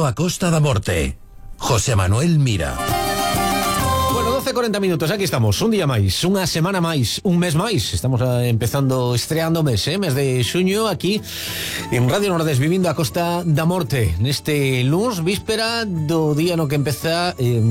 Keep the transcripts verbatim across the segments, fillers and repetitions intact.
Vivindo a Costa da Morte. José Manuel Mira. Bueno, doce cuarenta minutos, aquí estamos, un día máis, unha semana máis, un mes máis. Estamos uh, empezando, estreando mes, eh, mes de xuño, aquí en Radio Nordés, vivindo a Costa da Morte, neste luns, víspera do día no que empeza eh,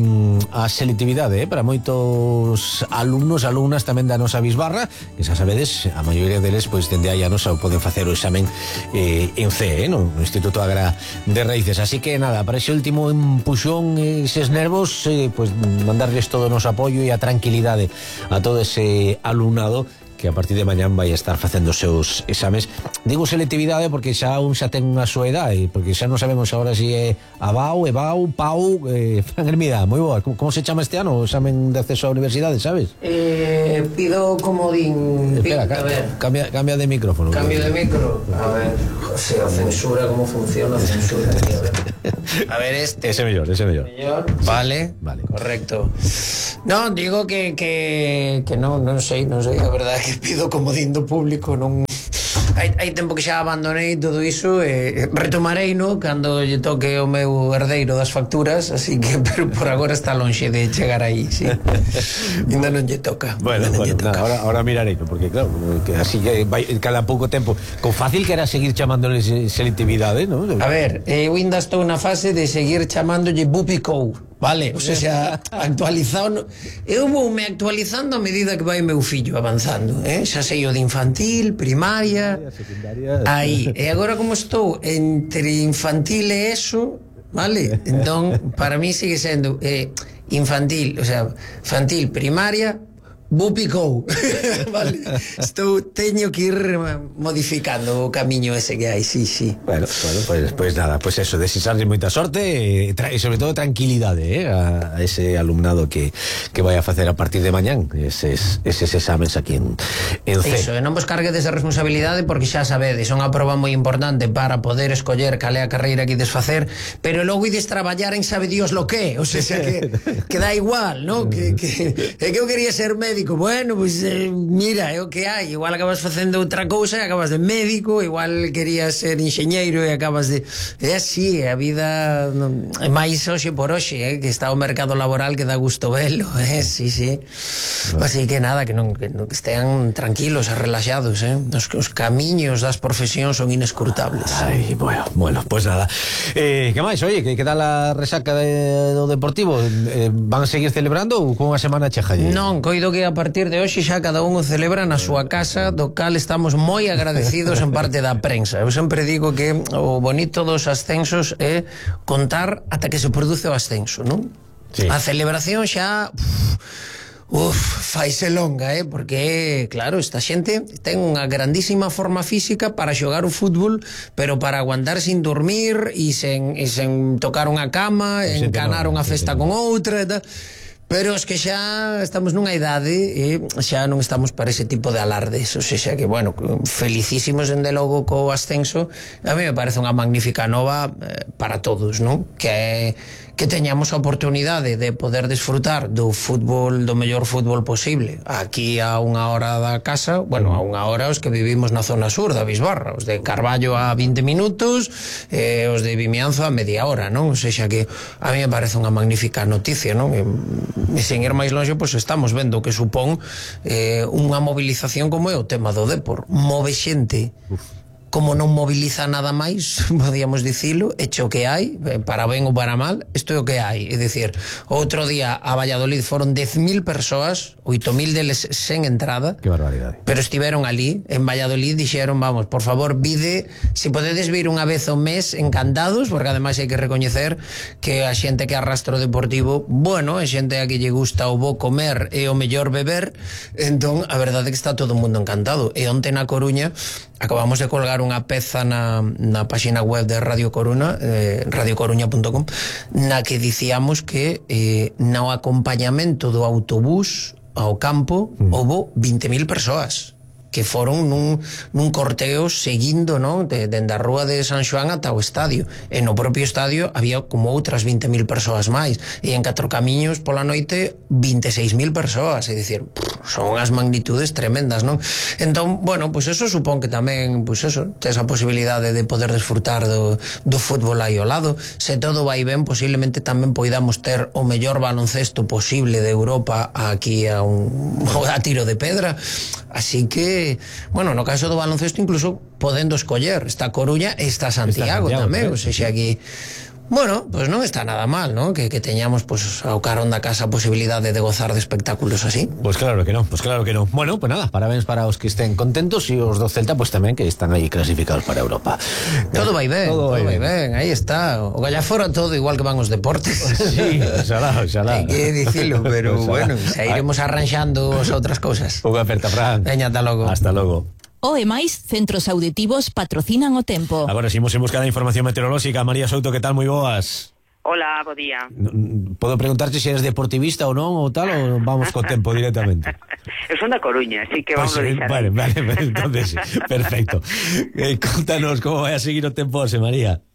a selectividade, eh, para moitos alumnos, alumnas tamén da nosa bisbarra, que xa sabedes, a maioría deles, pois, dende aí a nosa poden facer o examen eh, en C, eh, no Instituto Agra de Raíces. Así que, nada, para ese último empuxón, eh, eses nervos, eh, pois, mandarles todo o noso apoio e a tranquilidade a todo ese alumnado que a partir de mañán vai estar facendo os seus exames. Digo selectividade porque xa un xa ten unha súa idade, porque xa non sabemos agora se é Abau, Ebau, Pau, eh, Fran Hermida, moi boa. Como, como se chama este ano o examen de acceso á universidade, sabes? Eh, pido comodín. Espera, a ver. Cambia, cambia de micrófono. Cambio de micro. A ver, José, a censura, como funciona a censura. A ver. A ver este. Ese mellor, ese mellor. Mellor. Vale, vale. Correcto. No, digo que que que non, non sei, non sei, a verdade é que pido comodín do público, non. Hai, hai tempo que xa abandonei todo iso e retomarei, no, cando lle toque o meu herdeiro das facturas, así que, pero por agora está lonxe de chegar aí, sí. Ainda non lle toca. Bueno, bueno, toca. Nada, ahora, ahora mirarei, porque claro, que así que vai cada pouco tempo, con fácil que era seguir chamándole selectividade, ¿no? A ver, eu ainda estou na fase de seguir chamándolle Bupicou, vale? O sea, actualizado, eu vou me actualizando a medida que vai meu fillo avanzando, eh? Xa sei o de infantil, primaria, secundaria. Aí, e agora como estou entre infantil e eso, vale? Entón, para mí sigue sendo eh, infantil, o sea, infantil, primaria, Bupicou. Vale. Estou, teño que ir modificando o camiño ese que hai, sí, sí. Bueno, bueno, pues, pues nada, pues eso, desisarle moita sorte e, e sobre todo tranquilidade, eh, a, a ese alumnado que, que vai a facer a partir de mañán eses, eses exames aquí en, en C. Iso, e non vos carguedes de responsabilidade porque xa sabedes, son unha proba moi importante para poder escoller cal é a carreira que ides facer, pero logo ides traballar en sabe Dios lo que, o sea, que, que dá igual, ¿no? Que, que, é que eu quería ser médico. Bueno, pois, pues, eh, mira, é o que hai. Igual acabas facendo outra cousa e acabas de médico, igual querías ser enxeñeiro e acabas de... É así, a vida non... é máis hoxe por hoxe, eh, que está o mercado laboral que dá gusto velo, eh, sí, sí. Bueno. Así que nada, que non, que non que estean tranquilos e relaxados, eh. Os, os camiños das profesións son inescrutables. Ai, bueno, bueno, pues nada. Eh, que máis, oye, que, que tal a resaca de, do Deportivo? Eh, van a seguir celebrando ou con unha semana cheja? Non, coido que a partir de hoxe xa cada un o celebra na súa casa, do cal estamos moi agradecidos en parte da prensa. Eu sempre digo que o bonito dos ascensos é contar ata que se produce o ascenso, non? Sí. A celebración xa... Uf, faise longa, eh? Porque, claro, esta xente ten unha grandísima forma física para xogar o fútbol, pero para aguantar sin dormir e sen, e sen tocar unha cama, sí, encanar unha festa con outra e tal... Pero es que xa estamos nunha idade e xa non estamos para ese tipo de alardes, o sea que, bueno, felicísimos dende logo co ascenso. A mí me parece unha magnífica nova eh, para todos, non? Que é que teñamos a oportunidade de poder desfrutar do fútbol, do mellor fútbol posible aquí a unha hora da casa, bueno, a unha hora os que vivimos na zona sur da Bisbarra, os de Carballo a vinte minutos e eh, os de Vimianzo a media hora, non? O sea que a mí me parece unha magnífica noticia, non? E, e sen ir máis longe, pois estamos vendo que supón eh, unha movilización como é o tema do Depor, move xente. Uf. Como non moviliza nada máis, podíamos dicilo, hecho que hai, para ben ou para mal, isto é o que hai. É dicir, outro día a Valladolid foron dez mil persoas, oito mil deles sen entrada. Que barbaridade. Pero estiveron ali, en Valladolid, dixeron, vamos, por favor, vide, se podedes vir unha vez ao mes, encantados, porque ademais hai que recoñecer que a xente que arrastra o Deportivo, bueno, é xente a que lle gusta o bo comer e o mellor beber, entón, a verdade é que está todo o mundo encantado. E onte na Coruña, acabamos de colgar unha peza na, na páxina web de Radio Coruña, eh, radio coruña punto com, na que dicíamos que eh, no acompañamento do autobús ao campo mm. houbo vinte mil persoas. que foron nun, nun corteo seguindo, non, de, dende a rúa de San Xoán ata o estadio, e no propio estadio había como outras vinte mil persoas máis, e en Catro Camiños pola noite vinte e seis mil persoas, é dicir, son as magnitudes tremendas, non? Entón, bueno, pois pues eso supón que tamén, pois pues eso, tes a posibilidade de poder desfrutar do, do fútbol aí ao lado. Se todo vai ben, posiblemente tamén poidamos ter o mellor baloncesto posible de Europa aquí a un a tiro de pedra, así que bueno, no caso do baloncesto incluso podendo escoller, está Coruña e está Santiago, está Santiago tamén, o sea, aquí bueno, pues non está nada mal, ¿no? Que, que teñamos pues, ao carón da casa a posibilidade de gozar de espectáculos así. Pues claro que no, pues claro que no. Bueno, pues nada, parabéns para os que estén contentos e os do Celta pues tamén que están aí clasificados para Europa. Todo vai ben, todo, todo vai ben. ben, aí está. O Gallafora todo igual que van os deportes. Sí, oxalá, oxalá. Hai que dicilo, pero bueno, xa iremos arranxando as outras cousas. Unha aperta, Fran. Veña, ata logo. Hasta logo. O E máis, centros auditivos patrocinan o tempo. Agora seguimos en busca da información meteorolóxica. María Souto, que tal? Moi boas. Hola, bo día. Podo preguntarte se eres deportivista ou non ou tal, ou vamos co tempo directamente? Eu son da Coruña, así que vamos pues, a deixar. Vale, vale, entonces, perfecto. Eh, contanos como vai a seguir o tempo, José María.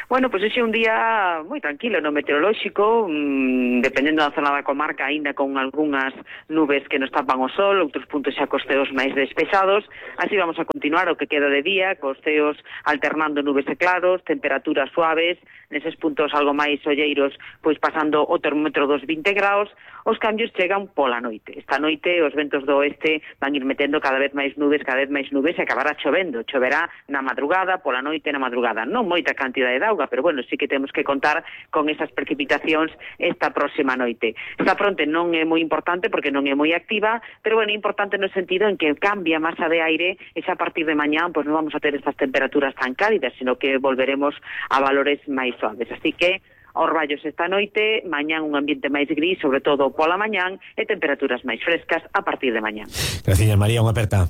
Bueno, pois pues ese é un día moi tranquilo no meteorolóxico, mmm, dependendo da zona da comarca, aínda con algunhas nubes que nos tapan o sol, outros puntos xa cos ceos máis despesados. Así vamos a continuar o que queda de día, cos ceos alternando nubes e claros, temperaturas suaves, neses puntos algo máis olleiros, pois pasando o termómetro dos vinte graus. Os cambios chegan pola noite. Esta noite os ventos do oeste van ir metendo cada vez máis nubes, cada vez máis nubes, e acabará chovendo. Choverá na madrugada, pola noite na madrugada. Non moita cantidade de auga, pero bueno, sí que temos que contar con esas precipitacións esta próxima noite. Esta fronte non é moi importante porque non é moi activa, pero bueno, é importante no sentido en que cambia a masa de aire e xa a partir de mañán pois non vamos a ter estas temperaturas tan cálidas, sino que volveremos a valores máis suaves. Así que orballos esta noite, mañán un ambiente máis gris, sobre todo pola mañán, e temperaturas máis frescas a partir de mañán. Gracias, María, unha aperta.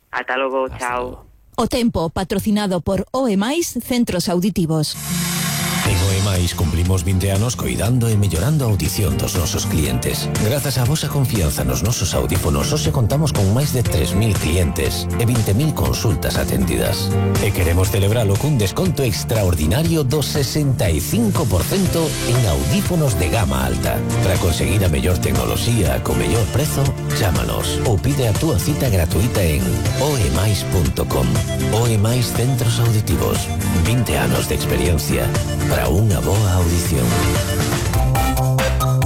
Ata logo, chao. O tempo patrocinado por O E máis, centros auditivos. En O E máis cumplimos vinte anos coidando e mellorando a audición dos nosos clientes. Grazas á vosa confianza nos nosos audífonos, hoxe contamos con máis de tres mil clientes e vinte mil consultas atendidas. E queremos celebralo cun desconto extraordinario do sesenta e cinco por cento en audífonos de gama alta. Para conseguir a mellor tecnoloxía co mellor prezo, chámanos ou pide a túa cita gratuita en oemais punto com. O E máis, centros auditivos. vinte anos de experiencia para unha boa audición.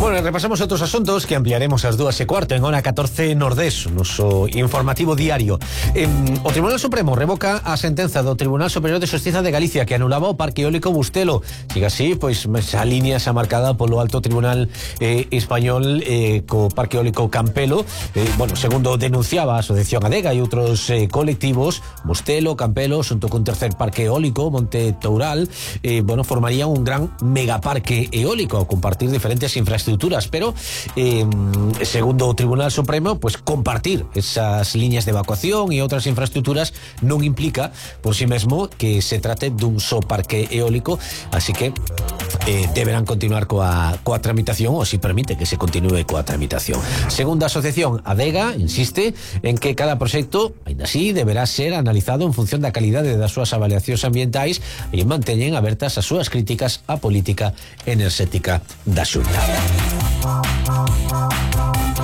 Bueno, repasamos outros asuntos que ampliaremos ás dúas e cuarto en hora catorce Nordés, noso informativo diario. Eh, o Tribunal Supremo revoca a sentenza do Tribunal Superior de Xustiza de Galicia que anulaba o Parque Eólico Bustelo. Siga así, pois a línea xa marcada polo Alto Tribunal eh, Español eh, co Parque Eólico Campelo. Eh, bueno, segundo denunciaba a Asociación Adega e outros eh, colectivos, Bustelo, Campelo, xunto cun tercer parque eólico, Monte Toural, eh, bueno, formarían un gran megaparque eólico a compartir diferentes infraestructuras, pero eh, segundo o Tribunal Supremo, pues compartir esas líneas de evacuación e outras infraestructuras non implica por si mesmo que se trate dun só parque eólico, así que eh, deberán continuar coa, coa tramitación, ou si permite que se continúe coa tramitación. Segunda asociación, Adega, insiste en que cada proxecto, ainda así, deberá ser analizado en función da calidade das súas avaliacións ambientais e manteñen abertas as súas críticas á política enerxética da Xunta.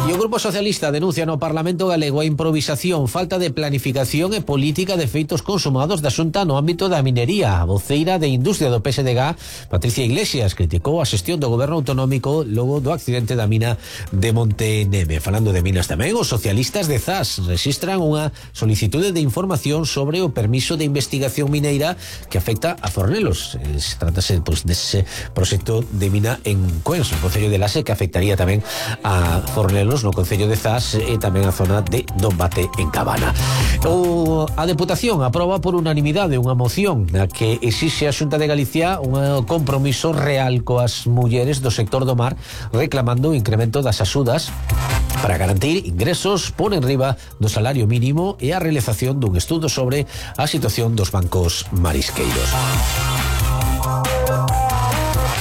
E o Grupo Socialista denuncia no Parlamento galego a improvisación, falta de planificación e política de feitos consumados da Xunta no ámbito da minería. A voceira de Industria do P S D G, Patricia Iglesias, criticou a xestión do goberno autonómico logo do accidente da mina de Monte Neme. Falando de minas tamén, os socialistas de Zas registran unha solicitude de información sobre o permiso de investigación mineira que afecta a Fornelos. Se tratase pues, dese proxecto de mina en Coens, o Concello de Lase, que afectaría tamén a Fornelos no Concello de Zas e tamén a zona de Dombate en Cabana. O, a Deputación aproba por unanimidade unha moción na que exixe a Xunta de Galicia un compromiso real coas mulleres do sector do mar, reclamando o incremento das axudas para garantir ingresos por enriba do salario mínimo e a realización dun estudo sobre a situación dos bancos marisqueiros.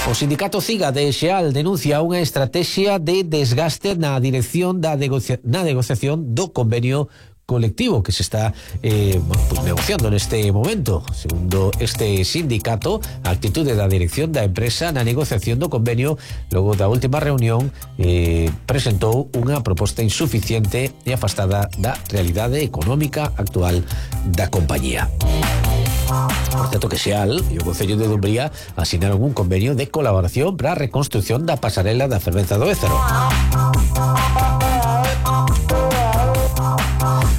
O sindicato CIGA de Xeal denuncia unha estrategia de desgaste na dirección da negocia- na negociación do convenio colectivo que se está eh, pues negociando neste momento. Segundo este sindicato, a actitude da dirección da empresa na negociación do convenio logo da última reunión eh, presentou unha proposta insuficiente e afastada da realidade económica actual da compañía. Por certo que Xeal e o Concello de Dumbría asinaron un convenio de colaboración para a reconstrucción da pasarela da fervenza do Ézaro.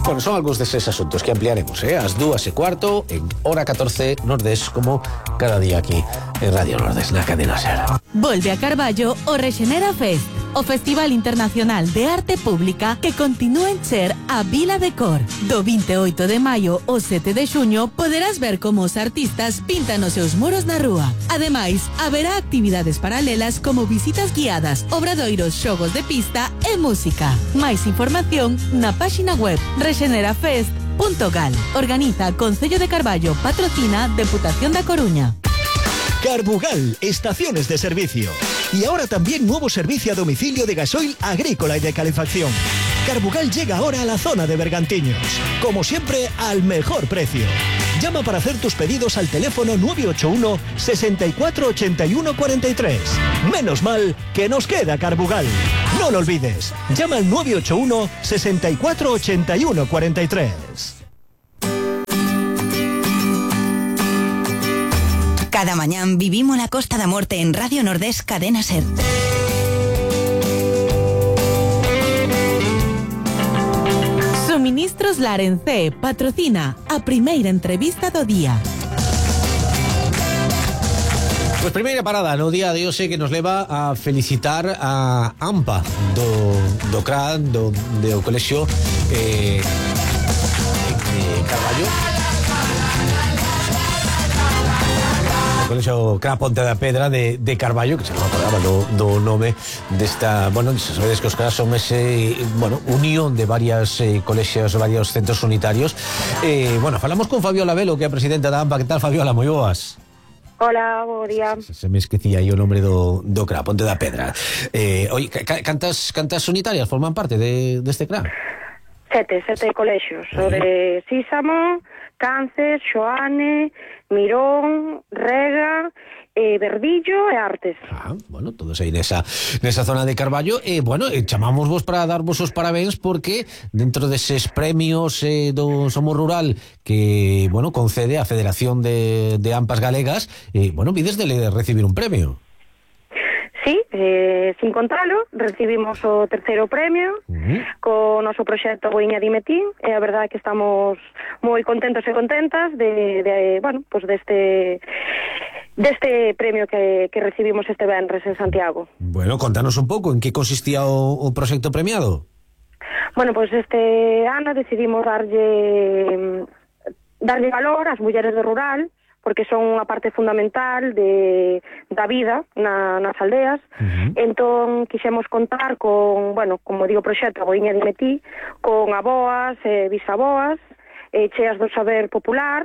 Bueno, son algúns deses asuntos que ampliaremos, eh? As dúas e cuarto en hora catorce Nordés, como cada día aquí en Radio Nordés, na cadena SER. Volve a Carballo o Rexenera Fest, o Festival Internacional de Arte Pública que continúa en ser a Vila de Cor. Do vinte e oito de maio ao sete de xuño poderás ver como os artistas pintan os seus muros na rúa. Ademais, haberá actividades paralelas como visitas guiadas, obradoiros, xogos de pista e música. Máis información na páxina web rexenerafest punto gal. Organiza Concello de Carballo, patrocina Deputación da Coruña. Carbugal, estaciones de servicio. Y ahora también nuevo servicio a domicilio de gasoil agrícola y de calefacción. Carbugal llega ahora a la zona de Bergantiños. Como siempre, al mejor precio. Llama para hacer tus pedidos al teléfono nueve ocho uno, sesenta y cuatro, ochenta y uno, cuarenta y tres. Menos mal que nos queda Carbugal. No lo olvides. Llama al nueve ocho uno, sesenta y cuatro, ochenta y uno, cuarenta y tres. Cada mañán vivimos la Costa da Morte en Radio Nordés Cadena SER. Suministros Larencé patrocina a primeira entrevista do día. Pues primeira parada no día de hoxe que nos leva a felicitar a AMPA do, do C R A, do, do colexio eh, de Carballo. Colexio C R A Ponte da Pedra de, de Carballo, que se non acordaba do, do nome desta, bueno, sabedes que os C R A son ese, bueno, unión de varias eh, colexios, varios centros unitarios. Eh, bueno, falamos con Fabiola Velo, que é a presidenta da AMPA. Que tal, Fabiola? Moi boas. Hola, bo día. Se, se me esquecía aí o nome do, do C R A Ponte da Pedra. Eh, oi, cantas, cantas unitarias forman parte de, deste C R A? Sete, sete colexios. O de Sísamo, Cáncer, Xoane, Mirón, Rega, eh, Verdillo e Artes. Ah, bueno, todos aí nesa, nesa zona de Carballo. E, eh, bueno, eh, chamamos vos para darvos os parabéns porque dentro deses premios eh, do Somos Rural que, bueno, concede a Federación de, de AMPAs Galegas, eh, bueno, vides de recibir un premio. Sí, eh, sin contalo, recibimos o terceiro premio uh-huh. co noso proxecto Boiña de Metín, e a verdade é que estamos moi contentos e contentas de, de bueno, pues deste deste premio que, que recibimos este venres en Santiago. Bueno, contanos un pouco en que consistía o, o proxecto premiado. Bueno, pues este ano decidimos darlle darlle valor ás mulleres do rural, porque son unha parte fundamental de, da vida na, nas aldeas. Uh-huh. Entón, quixemos contar con, bueno, como digo, proxecto Boiña de Metí, con aboas e bisaboas, eh, cheas do saber popular,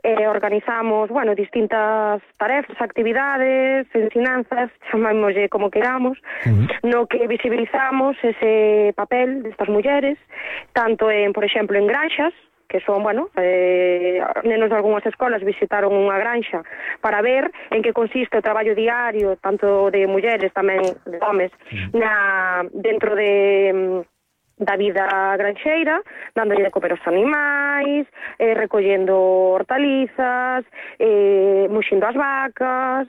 eh, organizamos, bueno, distintas tarefas, actividades, ensinanzas, chamámoslle como queramos, uh-huh. no que visibilizamos ese papel destas mulleres, tanto en, por exemplo, en granxas, que son, bueno, eh, nenos de algunhas escolas visitaron unha granxa para ver en que consiste o traballo diario, tanto de mulleres, tamén de homes, na, dentro de da vida granxeira, dándolle de comer aos animais, eh, recollendo hortalizas, eh, muxindo as vacas,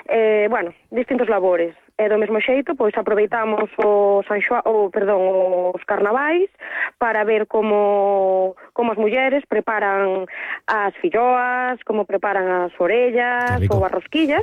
eh, bueno, distintos labores. E do mesmo xeito, pois aproveitamos o San Xoa, o, perdón, os carnavais para ver como como as mulleres preparan as filloas, como preparan as orellas ou as rosquillas.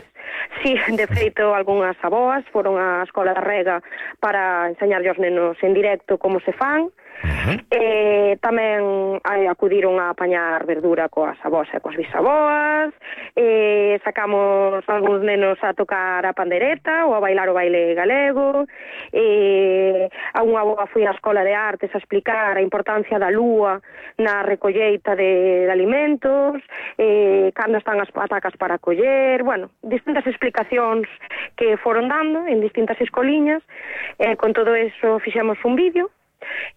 Si, sí, de feito, algunhas aboas foron á Escola da Rega para enseñarlle aos nenos en directo como se fan. Uh-huh. Eh, tamén eh, acudiron a apañar verdura coas avós e coas bisaboas, eh, sacamos algúns nenos a tocar a pandereta ou a bailar o baile galego, eh, a unha aboa foi á Escola de Artes a explicar a importancia da lúa na recolleita de, de alimentos, eh, cando están as patacas para coller, bueno, distintas explicacións que foron dando en distintas escoliñas. Eh, con todo eso fixemos un vídeo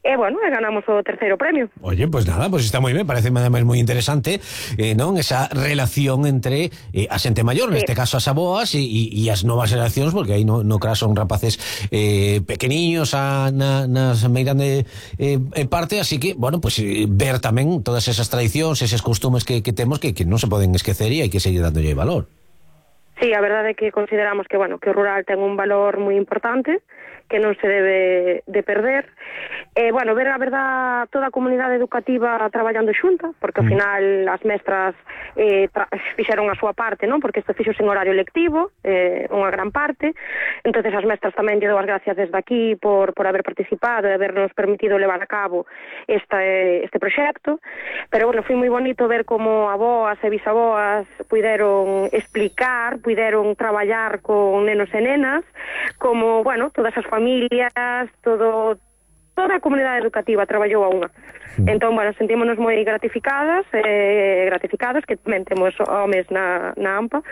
e, bueno, e ganamos o terceiro premio. Oye, pues nada, pues está moi ben, parece además moi interesante, eh, non? Esa relación entre eh, a xente maior, sí. neste caso as aboas, e, e as novas xeracións, porque aí no, no caso son rapaces eh, pequeniños a, na, nas meirande eh, parte, así que, bueno, pues eh, ver tamén todas esas tradicións, eses costumes que, que temos que, que non se poden esquecer e hai que seguir dándolle valor. Sí, a verdade é que consideramos que, bueno, que o rural ten un valor moi importante, que non se debe de perder. Eh, bueno, ver a verdad toda a comunidade educativa traballando xunta, porque ao final as mestras eh, fixeron a súa parte, non? Porque isto fixo sen horario lectivo, eh, unha gran parte. Entonces as mestras tamén lle dou as gracias desde aquí por, por haber participado e habernos permitido levar a cabo este, este proxecto. Pero, bueno, foi moi bonito ver como aboas e bisaboas puideron explicar, puideron traballar con nenos e nenas, como, bueno, todas as familias, todo... toda a comunidade educativa traballou a unha. Entón, bueno, sentímonos moi gratificadas, eh, gratificados, que tamén temos homes na, na AMPA.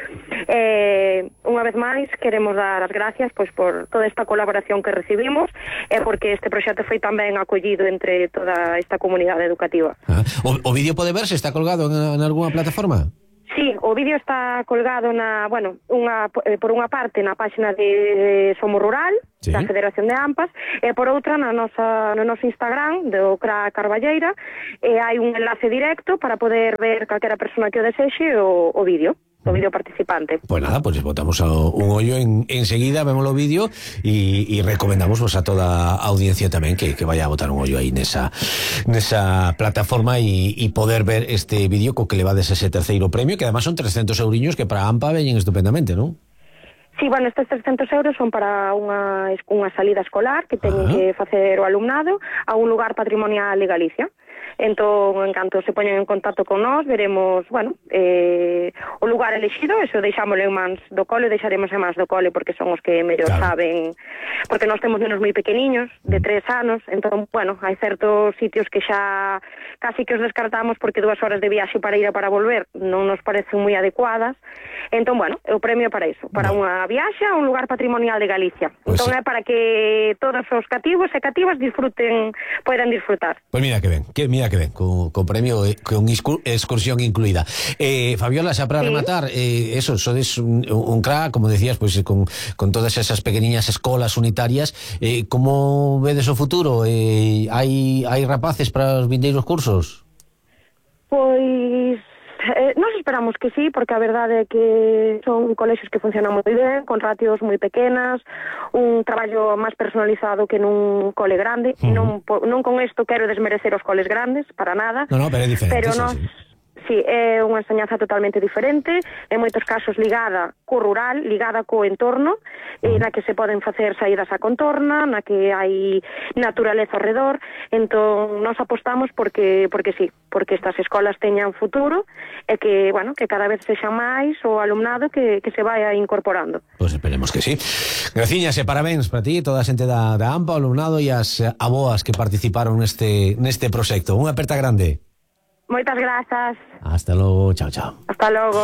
Eh, unha vez máis, queremos dar as gracias pois, por toda esta colaboración que recibimos e porque este proxecto foi tamén acollido entre toda esta comunidade educativa. Ah, o, o vídeo pode verse? Está colgado en, en alguna plataforma? Sí, o vídeo está colgado na, bueno, unha, eh, por unha parte na páxina de Somos Rural, sí, da Federación de AMPAs, e por outra na nosa, no noso Instagram do C R A Carballeira, e hai un enlace directo para poder ver calquera persona que o desexe o, o vídeo. O vídeo participante. Pues nada, pues botamos a un ollo en, enseguida, vemos o vídeo y, y recomendamos pues, a toda a audiencia tamén que, que vaya a botar un ollo aí nesa, nesa plataforma y, y poder ver este vídeo co que le va des ese terceiro premio, que además son trescentos euriños que para AMPA veñen estupendamente, ¿non? Sí, bueno, estes trescentos euros son para unha, unha salida escolar que teñen ah. que facer o alumnado a un lugar patrimonial de Galicia. Entón, en canto se poñen en contacto con nós, veremos, bueno, eh, o lugar elexido, eso deixámoslo en mans do cole, deixaremos en mans do cole porque son os que mellor claro. saben, porque nós temos nenos moi pequeniños, de tres anos, entón, bueno, hai certos sitios que xa casi que os descartamos porque dúas horas de viaxe para ir e para volver non nos parecen moi adecuadas. Entón, bueno, o premio para iso, para bueno. unha viaxe a un lugar patrimonial de Galicia. Pues entón, sí. é para que todos os cativos e cativas disfruten, poidan disfrutar. Pues mira que ben, que mira que ben, con, con premio, eh, con excursión incluída. Eh, Fabiola, xa para ¿Sí? rematar, eh, eso, sodes un, un crack, como decías, pues con, con todas esas pequeniñas escolas unitarias, eh, como vedes o futuro? Eh, hai, hai rapaces para os vindeiros cursos? Pois... Eh, nos esperamos que sí, porque a verdade é que son colexios que funcionan moi ben, con ratios moi pequenas, un traballo máis personalizado que nun cole grande. Uh-huh. non, non con isto quero desmerecer os coles grandes, para nada. No, no, pero é diferente. Pero sí, nos... sí. Sí, é unha enseñanza totalmente diferente, en moitos casos ligada co rural, ligada co entorno, eh, na que se poden facer saídas a contorna, na que hai naturaleza ao redor. Entón, nos apostamos porque porque sí, porque estas escolas teñan futuro e que, bueno, que cada vez sexa máis o alumnado que, que se vai incorporando. Pois pues esperemos que sí. Graciñas e parabéns para ti, toda a xente da, da AMPA, o alumnado e as aboas que participaron neste, neste proxecto. Unha aperta grande. Moitas grazas. Hasta logo, chao, chao. Hasta logo.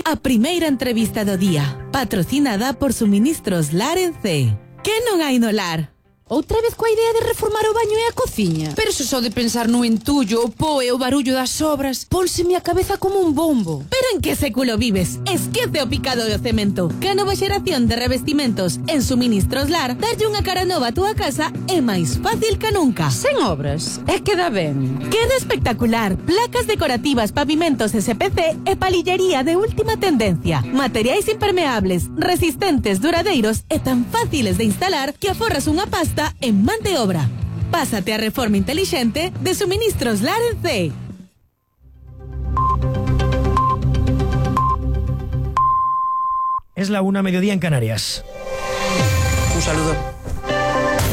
A primeira entrevista do día, patrocinada por Suministros Lar en C. Que non hai no lar? Outra vez coa idea de reformar o baño e a cociña? Pero se só de pensar no entullo, o po e o barullo das obras, pónseme a cabeza como un bombo. Pero en que século vives? Esquece o picado do cemento. Que a nova xeración de revestimentos en Suministros Lar darlle unha cara nova a túa casa é máis fácil que nunca. Sen obras, é que dá ben. Queda espectacular. Placas decorativas, pavimentos S P C e palillería de última tendencia. Materiais impermeables, resistentes, duradeiros e tan fáciles de instalar que aforras unha pasta en man de obra. Pásate a reforma inteligente de Suministros Lar en C. Es la una, mediodía en Canarias. Un saludo.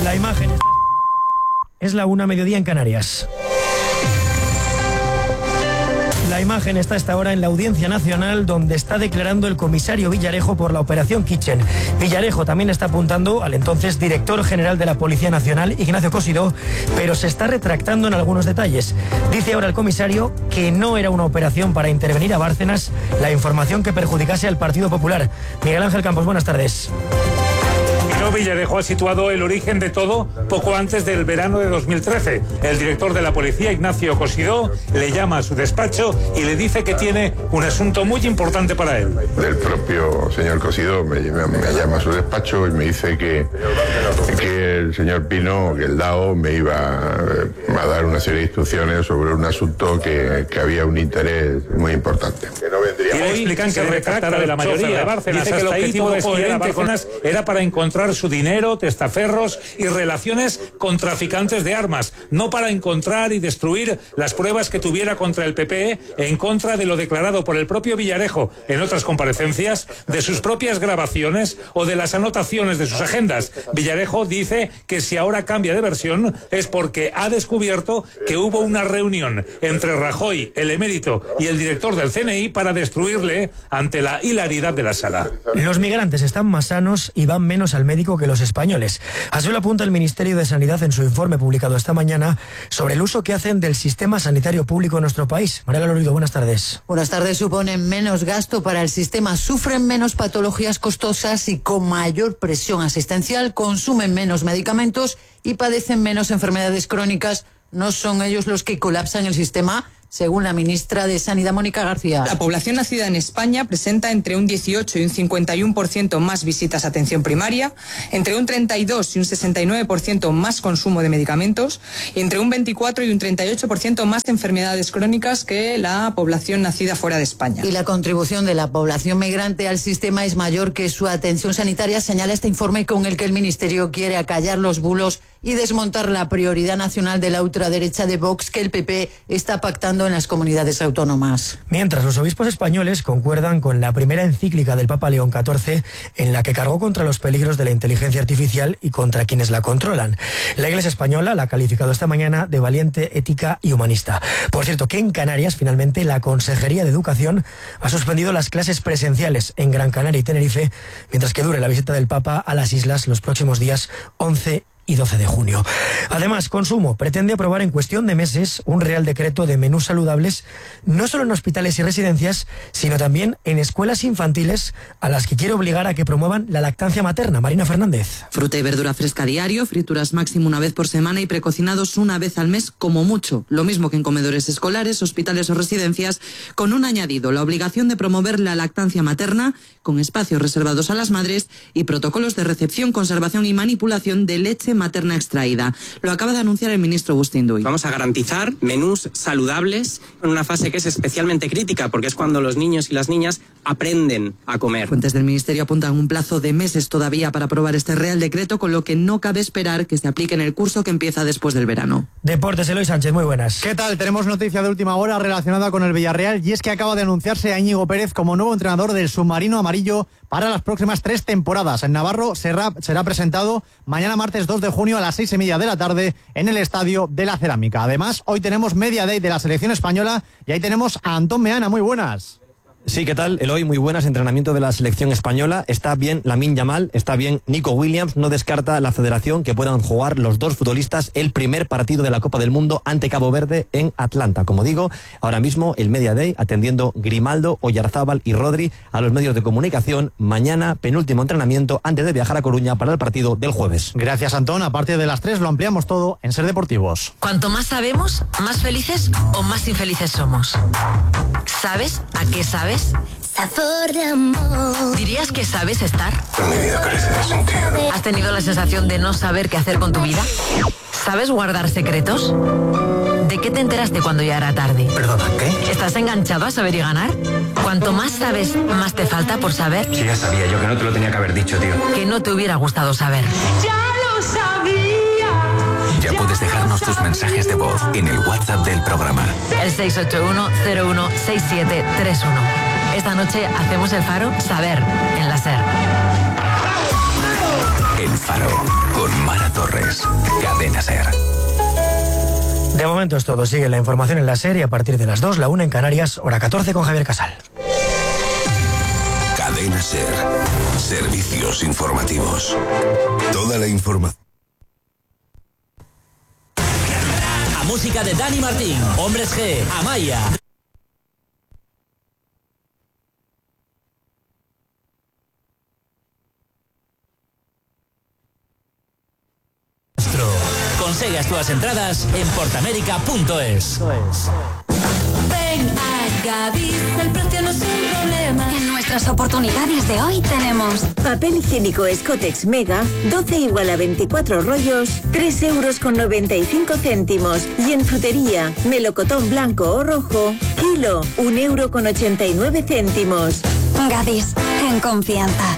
La imagen está... Es la una, mediodía en Canarias. La imagen está a esta hora en la Audiencia Nacional, donde está declarando el comisario Villarejo por la Operación Kitchen. Villarejo también está apuntando al entonces director general de la Policía Nacional, Ignacio Cosidó, pero se está retractando en algunos detalles. Dice ahora el comisario que no era una operación para intervenir a Bárcenas la información que perjudicase al Partido Popular. Miguel Ángel Campos, buenas tardes. No Pino Villarejo ha situado el origen de todo poco antes del verano de dos mil trece. El director de la policía, Ignacio Cosidó, le llama a su despacho y le dice que tiene un asunto muy importante para él. El propio señor Cosidó me, me llama a su despacho y me dice que, que el señor Pino, que el D A O, me iba a dar una serie de instrucciones sobre un asunto que, que había un interés muy importante. Que no vendría. Y le explican que retractará de la mayoría de Bárcenas. Dice que el objetivo de espiar Bárcenas era para encontrar su dinero, testaferros y relaciones con traficantes de armas, no para encontrar y destruir las pruebas que tuviera contra el P P E en contra de lo declarado por el propio Villarejo en otras comparecencias, de sus propias grabaciones o de las anotaciones de sus agendas. Villarejo dice que si ahora cambia de versión es porque ha descubierto que hubo una reunión entre Rajoy, el emérito, y el director del C N I para destruirle ante la hilaridad de la sala. Los migrantes están más sanos y van menos al médico que los españoles. Así lo apunta el Ministerio de Sanidad en su informe publicado esta mañana sobre el uso que hacen del sistema sanitario público en nuestro país. María Lorido, buenas tardes. Buenas tardes. Suponen menos gasto para el sistema, sufren menos patologías costosas y con mayor presión asistencial, consumen menos medicamentos y padecen menos enfermedades crónicas. No son ellos los que colapsan el sistema, según la ministra de Sanidad, Mónica García. La población nacida en España presenta entre un dieciocho y un cincuenta y uno por ciento más visitas a atención primaria, entre un treinta y dos y un sesenta y nueve por ciento más consumo de medicamentos y entre un veinticuatro y un treinta y ocho por ciento más de enfermedades crónicas que la población nacida fuera de España. Y la contribución de la población migrante al sistema es mayor que su atención sanitaria, señala este informe con el que el Ministerio quiere acallar los bulos y desmontar la prioridad nacional de la ultraderecha de Vox que el P P está pactando en las comunidades autónomas. Mientras los obispos españoles concuerdan con la primera encíclica del Papa León catorce en la que cargó contra los peligros de la inteligencia artificial y contra quienes la controlan. La Iglesia española la ha calificado esta mañana de valiente, ética y humanista. Por cierto, que en Canarias finalmente la Consejería de Educación ha suspendido las clases presenciales en Gran Canaria y Tenerife mientras que dure la visita del Papa a las islas los próximos días once y doce de junio. Además, Consumo pretende aprobar en cuestión de meses un real decreto de menús saludables, no solo en hospitales y residencias, sino también en escuelas infantiles, a las que quiere obligar a que promuevan la lactancia materna. Marina Fernández. Fruta y verdura fresca diario, frituras máximo una vez por semana y precocinados una vez al mes como mucho. Lo mismo que en comedores escolares, hospitales o residencias, con un añadido, la obligación de promover la lactancia materna, con espacios reservados a las madres y protocolos de recepción, conservación y manipulación de leche materna extraída. Lo acaba de anunciar el ministro Agustín Duy. Vamos a garantizar menús saludables en una fase que es especialmente crítica, porque es cuando los niños y las niñas aprenden a comer. Fuentes del ministerio apuntan un plazo de meses todavía para aprobar este real decreto, con lo que no cabe esperar que se aplique en el curso que empieza después del verano. Deportes, Eloy Sánchez, muy buenas. ¿Qué tal? Tenemos noticia de última hora relacionada con el Villarreal, y es que acaba de anunciarse a Íñigo Pérez como nuevo entrenador del submarino amarillo para las próximas tres temporadas. En Navarro será, será presentado mañana martes dos de junio a las seis y media de la tarde en el Estadio de la Cerámica. Además, hoy tenemos Media Day de la selección española y ahí tenemos a Antón Meana. Muy buenas. Sí, ¿qué tal? Eloy, muy buenas. Entrenamiento de la selección española. Está bien Lamine Yamal, está bien Nico Williams. No descarta la federación que puedan jugar los dos futbolistas el primer partido de la Copa del Mundo ante Cabo Verde en Atlanta. Como digo, ahora mismo el Media Day atendiendo Grimaldo, Oyarzábal y Rodri a los medios de comunicación. Mañana, penúltimo entrenamiento antes de viajar a Coruña para el partido del jueves. Gracias, Antón. A partir de las tres lo ampliamos todo en Ser Deportivos. Cuanto más sabemos, más felices o más infelices somos. ¿Sabes a qué sabes? Sabor de amor. ¿Dirías que sabes estar? Pero mi vida carece de sentido. ¿Has tenido la sensación de no saber qué hacer con tu vida? ¿Sabes guardar secretos? ¿De qué te enteraste cuando ya era tarde? ¿Perdona, qué? ¿Estás enganchado a saber y ganar? Cuanto más sabes, más te falta por saber. Sí, ya sabía yo que no te lo tenía que haber dicho, tío. Que no te hubiera gustado saber. Ya lo sabía. Ya puedes dejarnos tus mensajes de voz en el WhatsApp del programa. El seis ocho uno cero uno seis siete tres uno. Esta noche hacemos el Faro Saber en la SER. El Faro con Mara Torres. Cadena SER. De momento es todo. Sigue la información en la SER y a partir de las dos, la una en Canarias, hora catorce con Javier Casal. Cadena SER. Servicios informativos. Toda la información. A música de Dani Martín, Hombres G, Amaya. Consigue as túas entradas en portamérica punto es. Ven a Gadis, el precio no es un problema. En nuestras oportunidades de hoy tenemos papel higiénico Scotex Mega, doce igual a veinticuatro rollos, tres euros con noventa y cinco céntimos. Y en frutería, melocotón blanco o rojo, kilo, un euro con ochenta y nueve céntimos. Gadis, en confianza.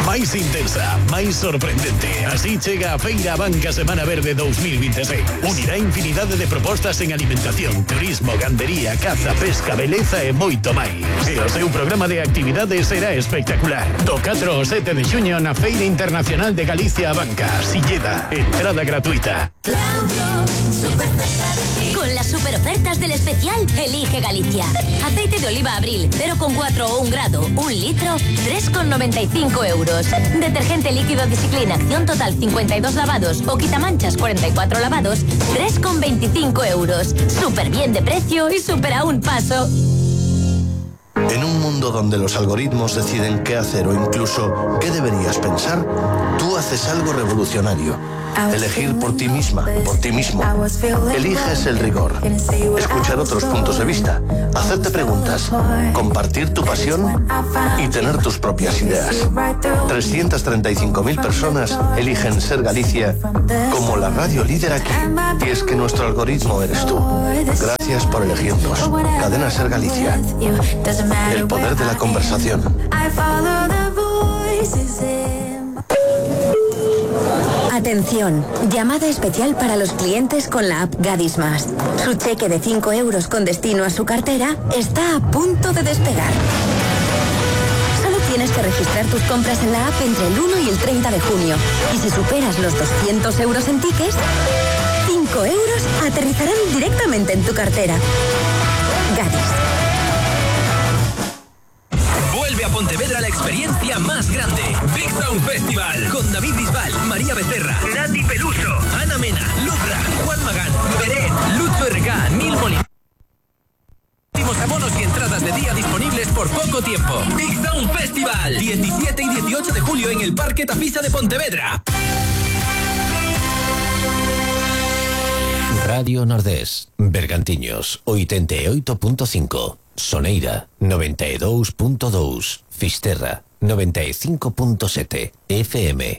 Máis intensa, máis sorprendente. Así chega a Feira Banca Semana Verde dos mil veintiséis. Unirá infinidade de propostas en alimentación, turismo, gandería, caza, pesca, beleza e moito máis. E o seu programa de actividades será espectacular. Do catro ao sete de xuño na Feira Internacional de Galicia a Banca. Silleda, entrada gratuita. Con las super ofertas del especial, elige Galicia. Aceite de oliva Abril, cero coma cuatro o un grado, un litro, tres con noventa y cinco euros. Detergente líquido Discipline Acción Total cincuenta y dos lavados o quitamanchas cuarenta y cuatro lavados, tres con veinticinco euros. Súper bien de precio y súper a un paso. En un mundo donde los algoritmos deciden qué hacer o incluso qué deberías pensar, tú haces algo revolucionario. Elegir por ti misma, por ti mismo. Eliges el rigor. Escuchar otros puntos de vista. Hacerte preguntas. Compartir tu pasión y tener tus propias ideas. trescientas treinta y cinco mil personas eligen Ser Galicia como la radio líder aquí. Y es que nuestro algoritmo eres tú. Gracias por elegirnos. Cadena Ser Galicia. El poder de la conversación. Atención, llamada especial para los clientes con la app Gadis Más. Su cheque de cinco euros con destino a su cartera está a punto de despegar. Solo tienes que registrar tus compras en la app entre el uno y el treinta de junio. Y si superas los doscientos euros en tickets, cinco euros aterrizarán directamente en tu cartera. Gadis. Vuelve a Pontevedra la experiencia más grande. Big Sound Festival. Con David Bisbal, María Becerra, Nati Peluso, Ana Mena, Lucra, Juan Magán, Beret, Lucho R K, Nil Molina. Últimos abonos y entradas de día disponibles por poco tiempo. Big Sound Festival. diecisiete y dieciocho de julio en el Parque Tafisa de Pontevedra. Radio Nordés, Bergantiños, ochenta y ocho punto cinco. Soneira, noventa y dos punto dos. Fisterra, noventa y cinco punto siete. F M.